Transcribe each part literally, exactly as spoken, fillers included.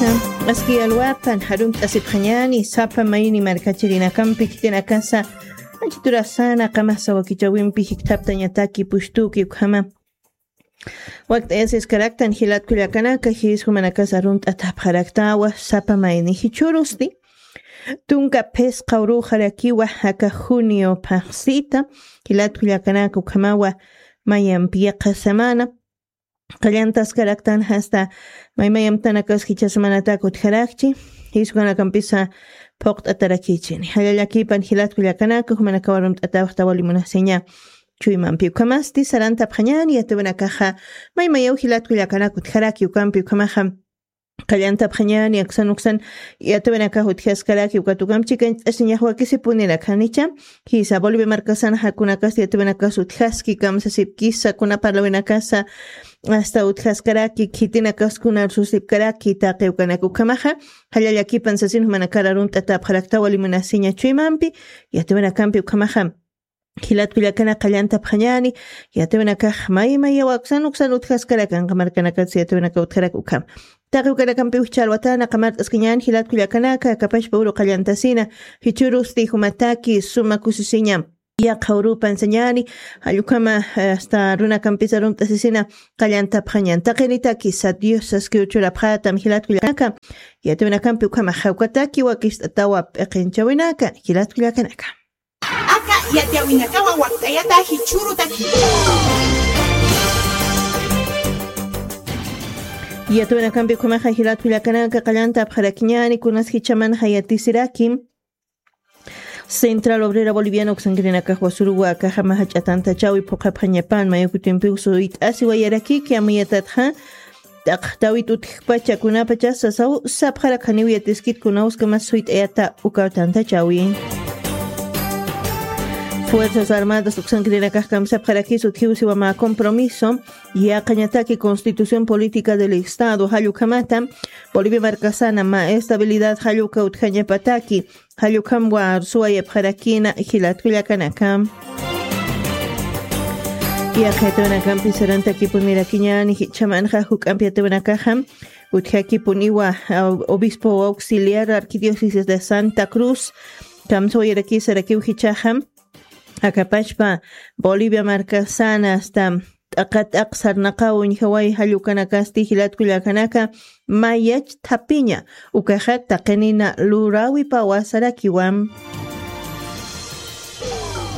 Aski alwapan jarumt'asipxañani sapa mayni markachirinakampi khitinakasa, anchiturasana qamasa wakichawimpi jikthaptañataki pushtuki ukhama. Wakt'ayasiskaraktan jilatkullakanaka jiskumanakasa arunt'atapxaraktawa sapa mayni jichurusti. Tunka phisqa uruxarakiwa jaka junio phaxsita, jilatkullakanaka ukhamawa mayampiqa semana. Qallantaskaraktan jasta maymayamtanakas jichha semanatak utjarakchi, jiskukanakampisa phuqt'atarakichini. Jallallakipan jilatkullakanaka jumanakawa arunt'atapxtawa limunasiña. Chuymampi ukhamasti sarantapxañani yatiwanakaxa, maymayaw jilatkullakanaka utjaraki ukampi ukhamaxa. Qallantapxañani aksan uksan yatiwanakax utjaskaraki ukat ukamp chikañt'asiñax wakisipunirakanicha. Jisa Bolivia markasan jakunakas yatiwanakas utjaski kamsasipkisa kuna parlawinakasa, asta utjaskaraki khitinakas kuna arsusipkaraki taqi ukanak ukhamaxa. Jallallakipan sasin jumanakar arunt'atapxaraktawa limunasiña chuymampi yatiwanakampi ukhamaxa. Jilatkullakana qallantapxañani, yatiwanakax maymaya waksan uksan utjaskarakan qamarkanakatsi yatiwanaka utjarak ukham. Taqi ukanakampiw jichha alwatana qamart'askañani jilatkullakanaka kapachpa uru qallantasina, jichurusti jumataki suma kusisiñam. Yaqha urupan sañani, jallukama hasta runakampisa arunt'asisina qallantapxañan taqinitaki sat dios saskiw churapxatam jilatkullakanaka. Yatiwanakampi ukhama jawkataki wakist'atawa p'iqinchawinaka jilatkullakanaka. Aka yatiyawinakawa wakt'ayata jichhürutaki. Yatiyawinakampi ukhamaxa jilatkullakanaka qallantapxarakiñani kunas jichhamanxa yatisirakim. Central Obrera Boliviana uksankirinakax wasuruwa akaxama jach'atantachawi phuqhapxañapan mayukutimpiw suyt'asiwayarakiki amayatatxa. T'aqtawit utjpachakunapachasasaw sapxarakaniw yatiskit kunawskamas suyt'ayata ukaw tantachawi. Fuerzas Armadas uksankirinakax kamsapxarakis utjiw siwamä compromiso yaqañataki Constitución Política del Estado jallukhamata Bolivia markasana mä estabilidad jalluka utjañapataki. Jallukhamwa arsuwayapxarakina jilatkullakanaka. Yaqha yatiwanakampi sarantakipunirakiñani jichhamanxa juk'ampi yatiwanakaxa utjakipuniwa obispo auxiliar arquidiócesis de Santa Cruz kamsawayarakisarakiw jichhaxa. Akapachpa Bolivia markasana asta t'aqat'aq sarnaqaw uñjaway jallukanakasti jilatkullakanaka mayach thapiña ukaxa taqinina lurawipawasarakiwam.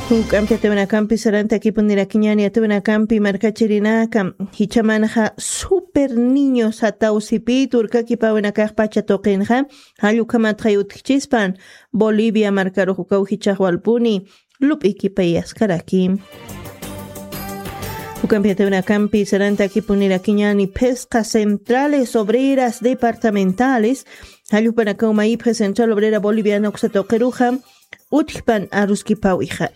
Juk'ampi yatiwanakampi sarantakipunirakiñani yatiwanakampi markachirinaka jichhamanxa super niño sataw sipit urkakipawinakaxpacha tuqinxa jallukhamatxay utjchispan Bolivia markarux ukaw jichhaxwalpuni lup'ikipayaskaraki. Ukampi yatiwanakampi sarantakipunirakiñani phisqa centrales obreras departamentales jallupanakaw mayipxi Central Obrera Boliviana uksata uqiruxa utjpan aruskipawixa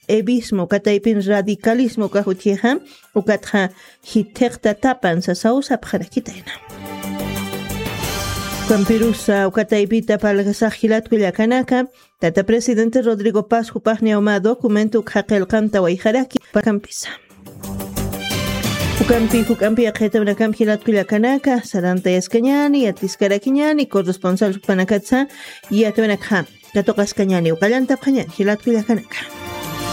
evismo kataypin radicalismo ukax utjixa ukatxa jithiqtatapan sasaw sapxarakitayna. Ukampirusa ukataypita parlasax jilatkullakanaka tata presidente Rodrigo Paz jupaxniawma documento ukxa qillqantawayxaraki pakampisa. Ukampi juk'ampi yaqhayatawinakamp jilatkullakanaka sarantayaskañani yatiskarakiñani corresponsal jupanakatsa yatawinakxa katuqaskañani uqallantapxañani jilatkullakanaka.